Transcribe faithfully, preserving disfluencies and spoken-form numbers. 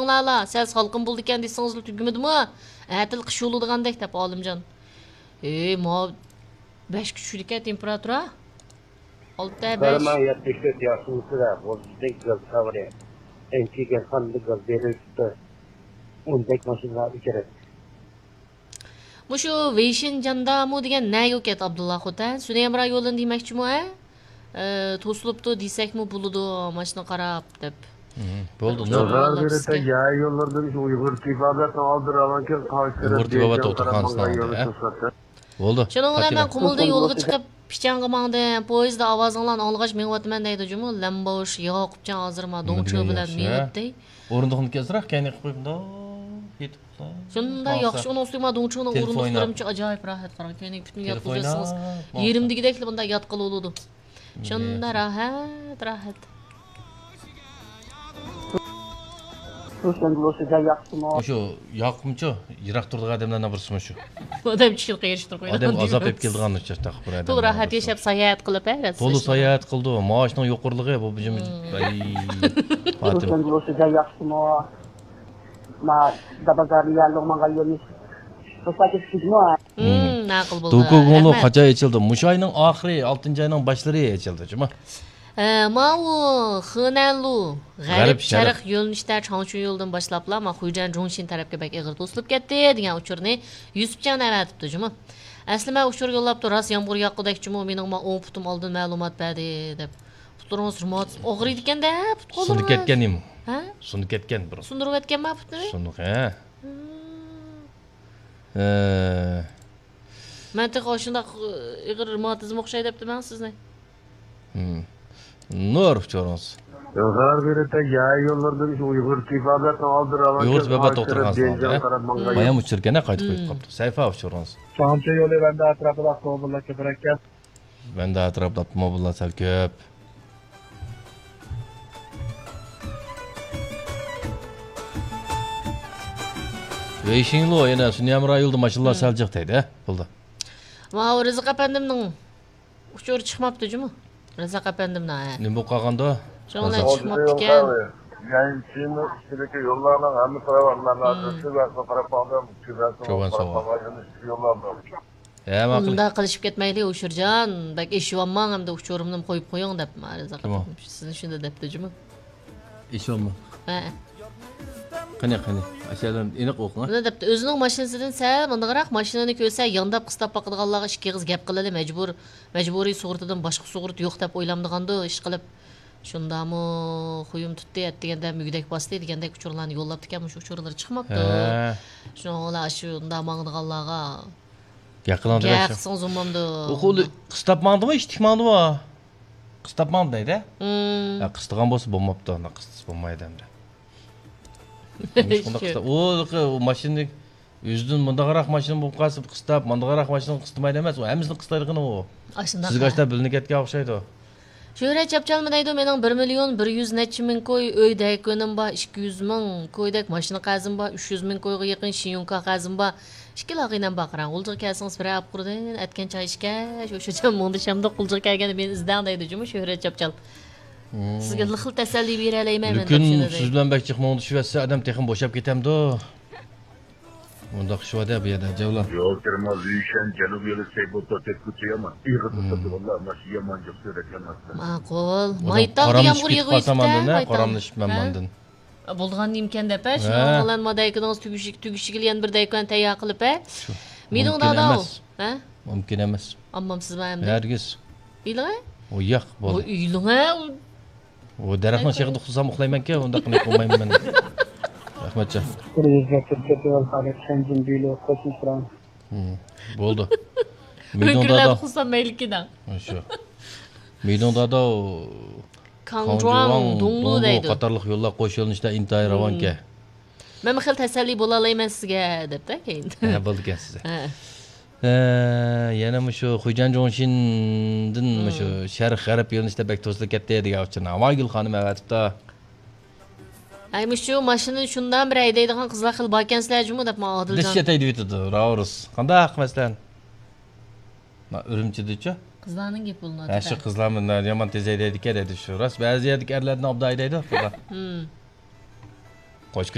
لالا، سەل سالقىن بولىدىكەن دېسىڭىزلا تۈگىمىدىمۇ؟ ئەتىل قىش بولىدىغاندەك دەپ ئالىمجان. ئېي، ماۋۇ بەشكە چۈشىدىكەن تېمپېراتۇرا. ئالتە، بەش. قارىماڭ، يەتمىش تۆت ياخشىمۇسىدا بولۇشتەك گاز خەۋىرى. ئەنچۈگەن خاندا گاز بېرىلىپتۇ. ئۇندەك ماشىنىلار ئۇچرايدۇ. مۇشۇ ۋېيشىنجاندامۇ دېگەن نەگە ئۇكەت ئابدۇللا خوتەن؟ سۈنەي ھەمراھ يولىنى دېمەكچىمۇ، ھە؟ ئە، توسۇلۇپتۇ دېسەكمۇ بولىدۇ، ماشىنا قاراپ دەپ. مم، بولدى، بىر ئۇچۇر بولدى. يا يوللاردىن شۇ ئۇيغۇر تېبابەتنىڭ ئالدى راۋانكەن قارشى تەرەپ ئۇيغۇر تېبابەت دېيىشىڭ قاراپ دوختۇرخانىسىنىڭ ماڭغان ئالدى، يولى ھە؟ توسۇلۇپتۇ. بولدى، شۇنىڭ بىلەن مەن قۇمۇلدىن يولغا چىقىپ، پىچانغا ماڭدىم. پويىزدا ئاۋازىڭلارنى ئاڭلىغاچ مېڭىۋاتىمەن دەيدۇ جۇمۇ. لەمباۋۇش ياقۇپجان ھازىر ما نېمە دېگەن دوڭچۇ بىلەن ياخشى، ھە؟ مېڭىۋاتتى. ئورۇندۇقنى كەلسىرەك كەينىگە قويۇپ مۇنداق يېتىپ. شۇنداق ياخشى، ئۇنىڭ ئۈستىگە ما دوڭچۇنىڭ ئورۇندۇقلىرىمۇ ئاجايىپ راھەت، قاراڭ، كەينىگە پۈتۈن ياتقۇزۇۋەتسىڭىز، يېرىم دېگۈدەكلا بۇنداق ياتقىلى بولىدۇ. شۇنداق راھەت، راھەت. روشەن بولۇشىدا ياخشىمۇ؟ شۇ ياقمىچۇ؟ يىراق تۇرىدىغان ئادەملەرنىڭ بىرسىمۇ شۇ؟ ئادەم چۈشىنىپ قېرىشتۇر قويىدۇ. ئادەم ئازاب ئېلىپ كېلىدىغان ئۇ چاغدا بىر ئادەم. تولا راھەت ياشاپ ساياھەت قىلىپ، ھە، تولا ساياھەت قىلىدۇ. مائاشنىڭ يۇقىرىلىقى بۇ بىزنىڭ. ئەي، پاتىم. روشەن بولۇشىدا ياخشىمۇ؟ ما، دابازارنى يەرلىك ماڭغان يولنى بوشلاپ كېتىشىدىمۇ؟ مم، ماقۇل بولدى. دوكۇگۇڭلۇ رەھمەت. قاچان ئېچىلدى؟ مۇشۇ ئاينىڭ ئاخىرى، ئالتىنچى ئاينىڭ باشلىرى ئېچىلدى، جۇما. ئە، ماۋۇ خېنەنلۇ، غەرب غەرب شەرق. شەرق يۆنىلىشتە چاڭچۈن يولىدىن باشلاپلا، ما، خۇيجەن جۇڭشىن تەرەپكە بەك ئېغىر توسۇلۇپ كەتتى، دېگەن ئۇچۇرنى يۈسۈپجان ئەۋەتىپتۇ، جۇما. ئەسلى مەن ئۇچۇر يوللاپتۇ، راست يامغۇر ياغقۇدەك، جۇمۇ، مېنىڭ ما ئوڭ پۇتۇم ئالدىن مەلۇمات بەردى، دەپ. پۇتلىرىڭىز رېماتىزم ئاغرىيدىكەن-دە، پۇت قوللىرىڭىز. سۇنۇپ كەتكەن نېمە؟ ھە؟ سۇنۇپ كەتكەن بۇرۇن. سۇندۇرۇۋەتكەنما پۇتنى؟ سۇنۇق، ھە. ھىم. ئە، مەن تېخى ئاشۇنداق ئېغىر رېماتىزم ئوخشاي دەپتىمەن سىزنى. ھىم. نۇر ئۇچۇرىڭىز. غەربىي يا يوللاردىن شۇ ئۇيغۇر تېبابەتنىڭ ئالدى راۋان ئۇيغۇر تېبابەت دوختۇرخانىسىنىڭ ئالدى، ھە؟ بايام ئۇچۇركەن، ھە، قايتا قويۇپ قاپتۇ. سەيفا ئۇچۇرىڭىز. چاڭچى يولى بەندە ئەتراپىدا ئاپتوموبىللار كۆپرەككەن. بەندە ئەتراپىدا ئاپتوموبىللار سەل كۆپ. ۋېيشىڭلۇ يەنە سۈنيەمرا يولدا ماشىنىلار سەل جىق دەيدۇ، ھە؟ بولدى. ماۋۇ رىزىق ئەپەندىمنىڭ ئۇچۇرى چىقماپتۇ جۇمۇ. رىزىق ئەپەندىمنىڭ، ھە. نېمە بولۇپ قالغاندۇ؟ شۇنىڭ بىلەن چىقماپتىكەن. يەنچىنىڭ ئىچىدىكى يوللارنىڭ ھەممىسى راۋان. مەن ھازىر تۆۋەنسىغا قاراپ باقتىم. تۆۋەنسىغا قاراپ باققان يەنە ئىچكى يوللار بار. ھە، ماقۇل. ئۇنداق قىلىشىپ كەتمەيلى، ئۇشۇرجان. بەك ئېشىۋالماڭ، ئەمدى ئۇچۇرۇمنىمۇ قويۇپ قويۇڭ دەپ، مارىزا قىلىپ. سىزنى شۇنداق دەپتۇ جۇمۇ. ئېشىۋالماڭ. ھە. قېنى، قېنى، ئاشۇ يەردىن ئېنىق ئوقۇڭ، ھە. مۇنداق دەپتۇ، ئۆزىنىڭ ماشىنىسىدىن سەل مۇنداقراق ماشىنىنى كۆرسە، يانداپ قىستاپ باقىدىغانلارغا ئىككى ئېغىز گەپ قىلىلى مەجبۇر. مەجبۇرىي سۇغۇرتىدىن باشقا سۇغۇرتا يوق دەپ ئويلامدىغاندۇ، ئىشقىلىپ. شۇنداقمۇ خۇيۇم تۇتتى، ئەتىگەندە مۈگدەك باستى دېگەندەك ئۇچۇرلارنى يوللاپتىكەن، مۇشۇ ئۇچۇرلىرى چىقماپتۇ. ھە. شۇنىڭ بىلەن ئاشۇنداق ماڭىدىغانلارغا گەپ قىلىڭ دېگەن گەپ قىلسىڭىز بولمامدۇ؟ ئۇ قۇلى قىستاپ ماڭدىمۇ، ئىشتىك ماڭدىمۇ؟ قىستاپ ماڭدى دەيدۇ. مم. يا، قىستىغان بولسا بولماپتۇ، ئۇنداق قىستىسا بولمايدۇ ئەمدى. نېمىشقا ئۇنداق قىستا-، ئۇ، ئۇ ماشىنىنى ئۆزىدىن مۇنداقراق ماشىنا بولۇپ قالسا، قىستاپ، مۇنداقراق ماشىنىنى قىستىمايدۇ ئەمەس، ئۇ ھەممىسىنى قىستايدىغىنى ئۇ. ئاشۇنداق. سىزگە ئاشۇنداق بىلىنىپ كەتكەن ئوخشايدۇ. شۆھرەت چاپچالمۇ دەيدۇ، مېنىڭ بىر مىليون بىر يۈز نەچچە مىڭ كوي ئۆي دەيكۈنۈم بار، ئىككى يۈز مىڭ كويدەك ماشىنا قەرزىم بار، ئۈچ يۈز مىڭ كويغا يېقىن شىيۇنكا قەرزىم بار. ئىككى لاغىنەم بار، قاراڭ، غۇلجىغا كەلسىڭىز بىرەر ئاپقۇردىن ئەتكەن چاي ئىچكەچ، ئوشۇرجان مۇڭدىشامدۇق، غۇلجىغا كەلگەندە مېنى ئىزدەڭ دەيدۇ جۇمۇ شۆھرەت چاپچال. مم. سىزگە لىقىر تەسەللى بېرەلەيمەن مەن دەپ شۇنداق دەيدۇ. لېكىن سىز بىلەن بەك جىق مۇڭدىشىۋەتسە، ئادەم تېخىمۇ بوشاپ كېتەمدۇ؟ مۇنداق ئىش بار-دە بۇ يەردە، جەۋلان. يول كىرىمى زۈيشەن جەنۇب يولى سەيبۇتتا تەككۈچە يامان. ئېغىر توساتتى، ۋاللا، ماشىنا يامان جىق سۈرەت يامان. ماقۇل. مايتاغدا يامغۇر يېغىۋېتىپتۇ، مايتاغ. بولىدىغان نېمىكەن دەپ، ھە، شۇنىڭ بىلەن ما دەيكىنىڭىز تۈگىشىگە، تۈگىشىگىلا يەنە بىر دەيكان تەييار قىلىپ، ھە. مىدىڭ داداۋ. ھە؟ مۇمكىن ئەمەس. ئالمامسىزمۇ ئەمدى؟ ھەرگىز. ئېلىڭە. ئۇ ياق، بولدى. ئېلىڭە. ئۇ دەرەخنىڭ شېخىدا ئۇخلىسام ئۇخلايمەنكەن، ئۇنداق قىلىپ بولمايمەن مەن. رەھمەتجان. بىر يۈز مەتىر چېتىۋال، خالىد، شەنجىن بىلو، قوشنى تۇرام. ھىم، بولدى. مىدۇڭ دادا. ئۇخلىسام مەيلىكىن. شۇ. مىدۇڭ دادا، كاڭجۇاڭ، كاڭجۇاڭ، دۇڭلۇ دۇڭلۇ دەيدۇ. قاتارلىق يوللار قوش يۆنىلىشتە ئىنتايىن راۋانكەن. مەنمۇ خېلى تەسەللى بولالايمەن سىزگە، دەپتۇ كېيىن. ھە، بولىدىكەن سىزگە. ھە. ھە، يەنە مۇشۇ خۇيجەن جۇڭشىندىن مۇشۇ شەرق غەرب يۆنىلىشتە بەك توسۇلۇپ كەتتى دېگەن ئۇچۇرنى ئاۋاگۈل خانىم ئەۋەتىپتۇ. ئەي، مۇشۇ ماشىنىنى شۇنداق بىر ھەيدەيدىغان قىزلار خېلى باركەنسىلەر جۇمۇ دەپ ماڭا ئادىلجان. دىش ئەتەي دېيىۋېتىدۇ، راۋرۇس. قانداق مەسىلەن؟ ما، ئۈرۈمچىدىچۇ؟ قىزلارنىڭ گېپى بولۇنىدۇ. ھە، شۇ قىزلارمۇ يامان تېز ھەيدەيدىكەن دەيدۇ شۇ. راست، بەزى يەردىكى ئەرلەردىن ئوبدان ھەيدەيدۇ قىزلار. ھىم. قوچ كۈنى